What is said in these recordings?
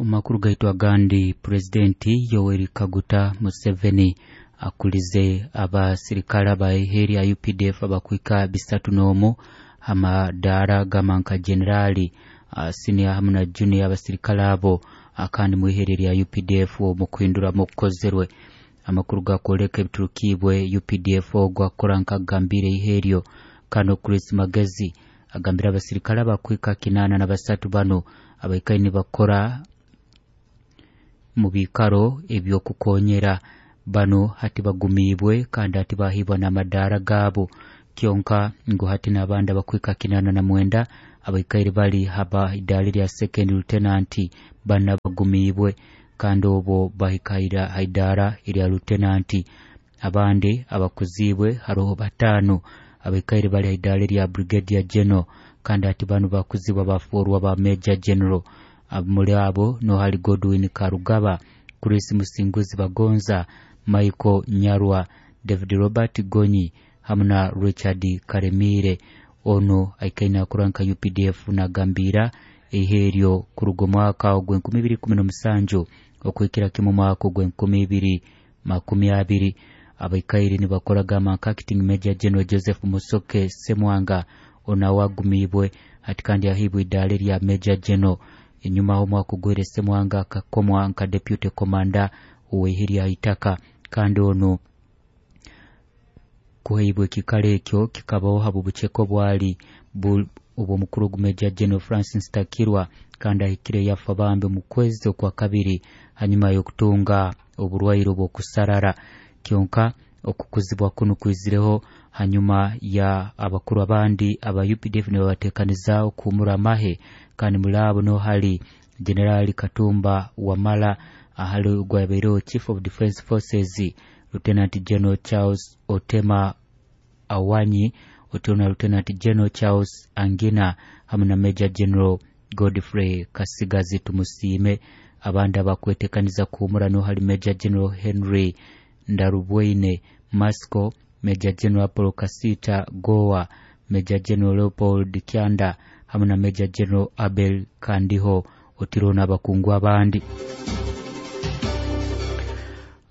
Omu makuru gaitu agandi, Purezidenti Yoweri Kaguta Museveni akulize abasirikale abaihe lya UPDF abakwika 31 amadaara gamanka generali, senior hamu na junior. Abasirikale abo kandi mwihere lya UPDF omu kuhinduramu okukozerwe. Amakuru gakwoleka ebiturukiibwe UPDF ogwo akukora nkagambire ihe eryo kano Chris Magezi agambire abasirikale abakwika 83 bano abaikaire nibakora mu biikaro eby'okukonyera bano hati bagumiibwe kandi hati bahiibwa n'amadaara gaabo. Kyonka ngu hati n'abandi abakwika 89 abaikaire bali haba idaara lya second lieutenant bana bagumiibwe kandi obwo bahika ha idaara erya lieutenant. Abandi abakuziibwe haroho 5 abaikaire bali ha idaara erya brigadier general kandi hati banu bakuzibwa bafoorwa ba major general. Muri abo nohali Godwin Karugaba, Chris Musinguzi Bagonza, Michael Nyarwa, David Robert Gonyi hamu na Richard Karemire. Ono aikaire nakora nka UPDF nagambira ihe eryo kuruga omwaka ogw'2017 okuhikira kimu omwaka ogw'2020. Abaikaire nibakora gamba nka acting major general Joseph Musoke Semwanga, ono agumiibwe hati kandi ahiibwe idaara erya major general. Enyuma omwaka ogwire Semwanga akakomwa nka deputy commander ow'eihe lya itaka kandi ono kuheibwa ekikaro ekyo kikabaho habw'obuceke obwali obw'omukuru ogu Major General Francis Takirwa kandi ahikire yafa bambi mu kwezi okwa kabiri hanyuma y'okutunga oburwaire obw'okusarara. Kyonka okukuzibwa kunu kwizireho hanyuma ya abakuru abandi aba UPDF nibabateekaniza okuhumura amahe kandi muri abo niho hari Generali Katumba Wamala ahali ogwabaireho Chief of Defence Forces, Lieutenant General Charles Otema Awanyi otyo na Lieutenant General Charles Angina hamu na Major General Godfrey Kasigazi Tumusiime. Abandi abakwetekaniza kuhumura niho hari Major General Henry Ndarubwaine Masco, Major General Apollo Kasita Goa, Major General Leopold Kyanda hamu na Major General Abel Kandiho otiro n'abakungu abandi.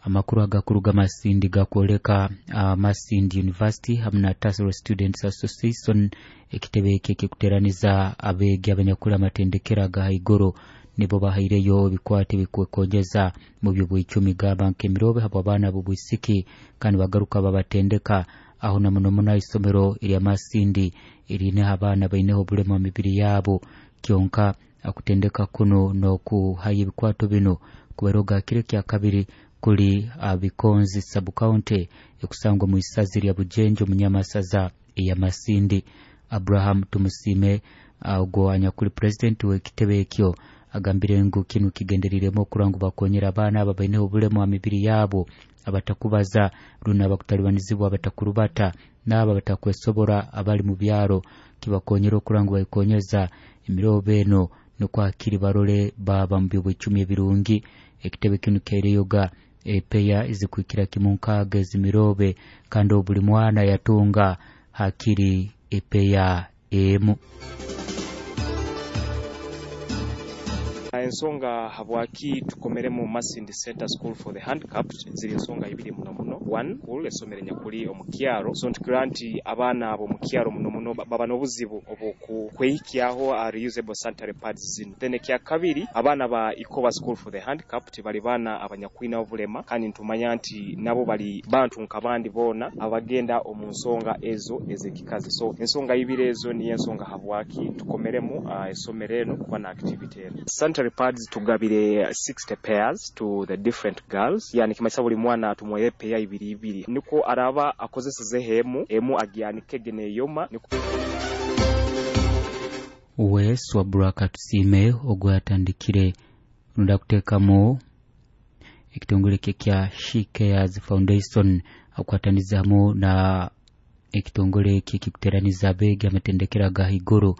Amakuru agakuruga Masindi gakwoleka Masindi University hamu na Tasoro Students Association, ekitebe eki ekikuteraniza abeegi abanyakuli amatendekero aga haiguru, nibo bahaireyo ebikwate ebikwekonyeza mu by'obwecumi gamba nk'emirobe habw'abaana b'obwisiki kandi bagaruka babatendeka aho na muno muno isomero erya Masindi eriineho abaana baineho obulema mu mibiri yaabo. Kyonka akutendeka kuno n'okuhayo ebikwato bino kubaire kiro kya kabiri kuli Bikonzi sub county ekusangwa mu isazi lya Bujenjo munyamasaza eya Masindi. Abraham Tumusime ogwo anyakuli president w'ekitebe ekyo agambire ngu kinu kigenderiremu okura ngu bakonyera abaana aba baineho obulemu ha mibiri yaabo, abatakubaza rundi abakutalibanizibwa, abatakurubata n'abo abatakwesobora abali mu byaro, kibakonyera okura ngu baikonyeza emirobo eno nukwo hakiri barole baba mu byobwecumi ebirungi. Ekitebe kinu kyaireyoga epeya ezikwikira kimu 60 ezimirobe kandi buli mwana yatunga hakiri epeya emu. Ensonga habwaki tukomeremu Masindi Center School for the Handicapped ziri ensonga ibiri muno muno. One, school esomero nyakuli omu kyaro, so ntukira nti abaana abo mu kyaro muno muno baba n'obuzibu obwokwehikyaho reusable sanitary pads zino. Then ekya kabiri, abaana ba Ikoba School for the Handicapped bali baana abanyakwina obulema kandi ntumanya nti nabo bali bantu nk'abandi boona abagenda omu nsonga ezo ez'ekikazi. So ensonga ibiri ezo niyo ensonga habwaki tukomeremu esomero eno kuba na activity eno. Sanitary pads tugabire 60 pairs to the different girls, yani kimanyisa buli mwana tumuwaire peya ibiri ibiri niko araba akozesezeho emu emu agyanikege neyoma niko. We Swabura Katusime ogwo yatandikire runda kuteekamu ekitongole kye kya She Cares Foundation akwatanizamu na ekitongole eki ekikuteraniza abeegi amatendekero aga haiguru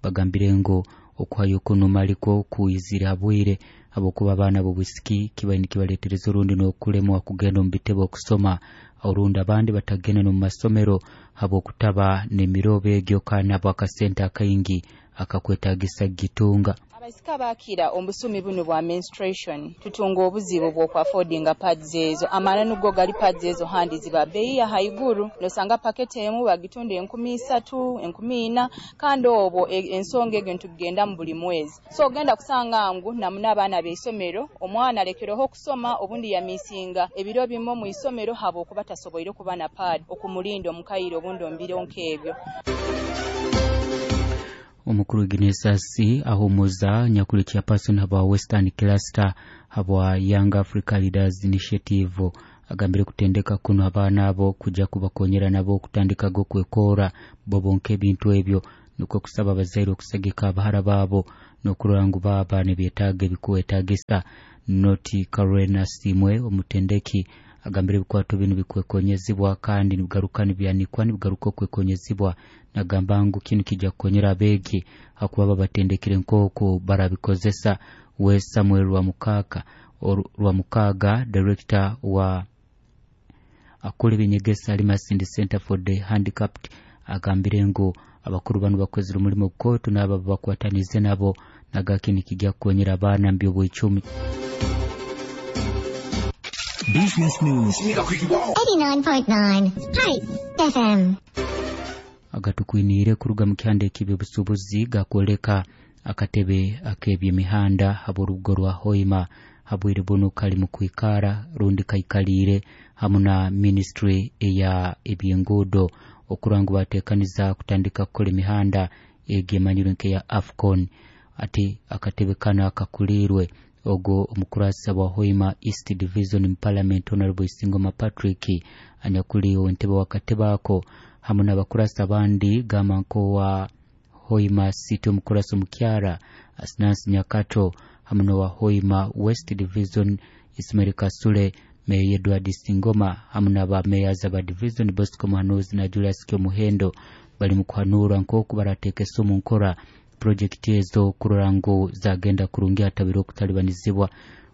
bagambire ngu okuhayo kuno maliko kuizire habwire habwokuba abaana b'obwisiki kibaire nikibaleetereza orundi n'okulemwa kugenda omu bitebe okusoma, orundi abandi batagenda n'omu masomero habwokutaba n'emirobo egyo kandi habw'akasente akaingi akakwetagisa gitunga. Abaisika bakira omusumi buno bwa menstruation tutunga obuzibu bw'okwaffordinga pads ezo amana nugo gali pads ezo handi ziba bei ya haiguru nosanga paketi emu bagitunda 3,000 4,000 kandi obwo ensonga egyo ntugenda mu buli mwezi so ogenda kusanga ngu namuna abaana b'isomero omwana alekereho okusoma obundi yamisinga ebiro bimo mu isomero habo okuba tasoboire kuba na pad okumulinda omukaire obundi ombiro nk'ebyo. Omukuru Ginesasi ahumuza nyakuli chairperson haba Western Cluster habwa Young Africa Leaders Initiative agambire kutendeka kuno abaana abo kujja kubakonyera nabo okutandika gokwekora bobonke ebintu ebyo nukwo kusaba abazaire okusagika abahara baabo n'okurora ngu baaba nibyetaaga ebikuwetaagisa. Noti Karena Simwe omutendeki agambire ebikwato binu bikwekonyezibwa kandi nibigaruka nibyanikwa nibigaruka okwekonyezibwa nagamba ngu kinu kijja kukonyera abeegi hakuba babatendekere nk'oku barabikozesa. We Samuel Rwamukaga director wa akora ebinyegesa ali Masindi Center for the Handicapped agambire ngu abakuru banu bakozire omulimo kootu n'abo bakwatanize nabo nagakini kijja kukonyera abaana mu by'obwecumi. Business News 89.9 Hype FM. Agatukwiniire kuruga mu kihanda eky'ebyobusuubuzi gakwoleka akatebe ak'ebyemihanda habw'orubuga rwa Hoima habwire bunu kali mu kwikara rundi kaikaliire hamu na ministry eya ebyenguudo okurora ngu bateekaniza kutandika kukora emihanda egi emanyirwe nk'eya AFCON. Ati akatebe kano akakuliirwe ogwo omukurasa wa Hoima East Division mu Parliament Honorable Isingoma Patrick anyakuli entebe wakatebe ako hamu n'abakurasa abandi gamba nk'owa Hoima City omukurasa omukyara Asnansi Nyakato hamu n'owa Hoima West Division Ismail Kasule, Meya Edward Singoma hamu n'aba mayors aba division Bosco Muhanuzi na Julius Kyomuhendo bali mu kuhanura nk'oku barateekesa omu nkora projekiti ezo kurora ngu zagenda kurungi hatabire okutalibanizibwa.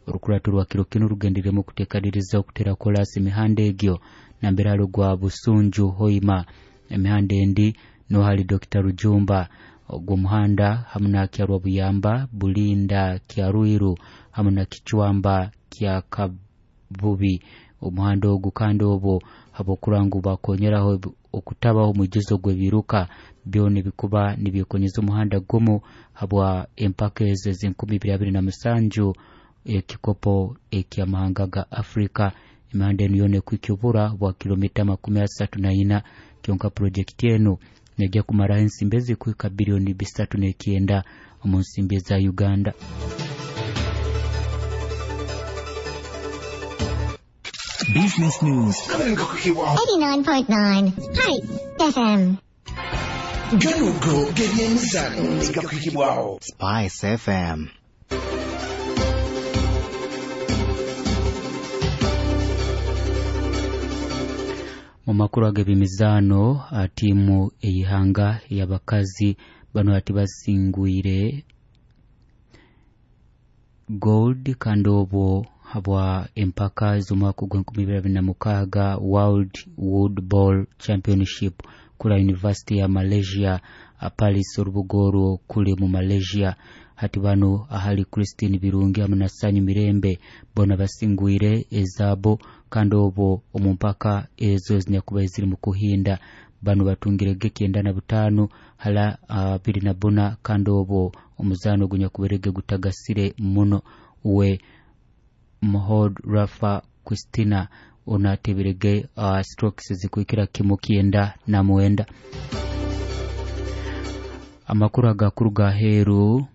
Orukurato rwa kiro kinu rugendereremu okuteekaniriza okutera kolaasi emihanda egyo nambere hali ogwa Busunju Hoima emihanda endi nohali Dr. Rujumba ogwo muhanda hamu na Kyarwa Buyamba Bulinda Kyarwiru hamu na Kichwamba kya Kabubi omuhanda ogu kandi obwo habwokurora ngu bakonyeraho okutabaho omwijuzo gw'ebiruka byona ebikuba nibyekonyeza omuhanda gumu habwa empaka ezo ez'enkumi ibiri abiri na musanju ekikopo eky'amahanga ga Afrika. Emihanda enu yoona ekwikibura bwa kilomita 34 kyonka projekiti enu nejja kumaraho ensimbi ezikuhika bilioni 3.9 omu nsimbi eza Uganda. Business News 89.9 Hype FM. Ganugo gebyemizano negakwikibwaho Spice FM. Mu makuru ag'ebyemizaano tiimu ey'ihanga ey'abakazi bano ati basingwire gold kandi obwo habwa empaka z'omwaka ogw'enkumi ibiri abiri na mukaaga World Woodball Championship kura University ya Malaysia Paris orubuga orwo kuli mu Malaysia. Hati bano ahali Christine Birungi hamu na Sanyu Mirembe bona basingwire ezaabo kandi obwo omu mpaka ezo ezinyakuba eziri mu kuhinda bano batungirege 95 hala 24 kandi obwo omuzaano ogunyakuberege gutagasire muno. We Mohod Rafa Christina onateberege strokes zikuikira kimu 99. Amakuru agakuruga aheeru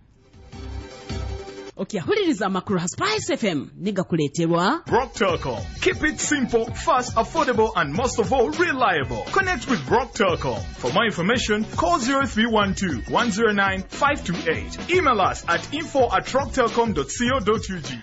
Okyahuliriza amakuru ha Spice FM nigakuleeterwa Brock Telcom. Keep it simple, fast, affordable, and most of all, reliable. Connect with Brock Telcom. For more information, call 0312 109 528. Email us at info@rocktelcom.co.ug.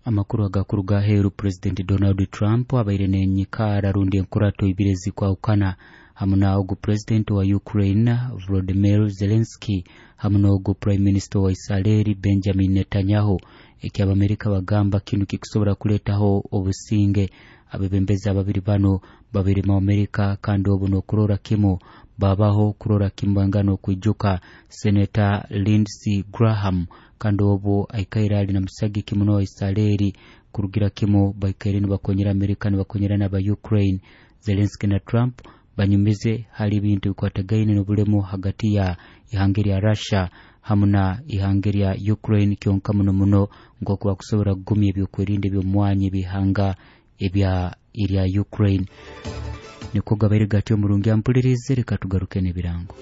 Amakuru agakuruga aheeru President Donald Trump abaire nenyikara rundi enkurato ibiri ezikwahukana hamu na ogu President wa Ukraine Volodymyr Zelensky hamu n'ogu Prime Minister wa Israeli Benjamin Netanyahu. Eky'Abamerika bagamba kinu kikusobora kuleetaho obusinge. Abebembezi ababiri bano babiri mu Amerika kandi obu n'okurora kimu babaho kurora kimu bangana okwijuka Senator Lindsey Graham Kandi obu aikaire ali na musagiki muno wa Israeli kurugira kimu baikaire nibakonyera Amerika, nibakonyera n'aba Ukraine. Zelensky na Trump banyumize hali ebintu bikwatagaine n'obulemu hagati ya ihanga lya Russia hamu na ihanga lya Ukraine, kyonka muno muno nk'oku bakusobora kugumya ebyokwerinda eby'omwanya eby'ihanga ebya erya Ukraine. Nikwo gabaire gatyo omurungi ampulirize, reka tugaruke n'ebirango.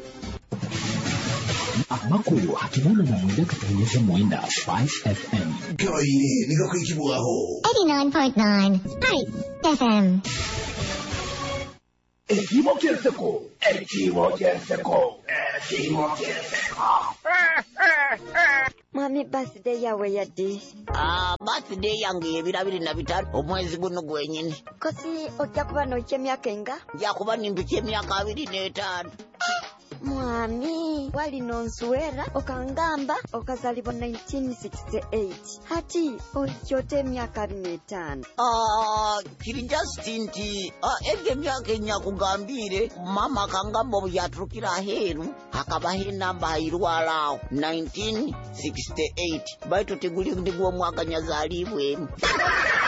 Amakuru 89.9 Spice FM. Gabaire nigakwikibwaho. 89.9 Spice FM. Ekibo ky'enseko, ekibo ky'enseko, ekibo ky'enseko. Mwami, birthday yawe yaddi? Ah, birthday yange y'ebiro 25 omwezi guno gwenyini. Kosi ojja kuba noikya emyaka enga? Nja kuba nimpikya emyaka 25. Mwami, wali nonsuwera okangamba okazalibwa 1968, hati oikyota emyaka 25. Ah, kiri just nti egyo emyaka enyakugambiire mama akangamba obu yaturukira aheeru hakabaho enamba hairwara aho 1968, baitu tiguli ndigwo omwaka nyazaalibwemu.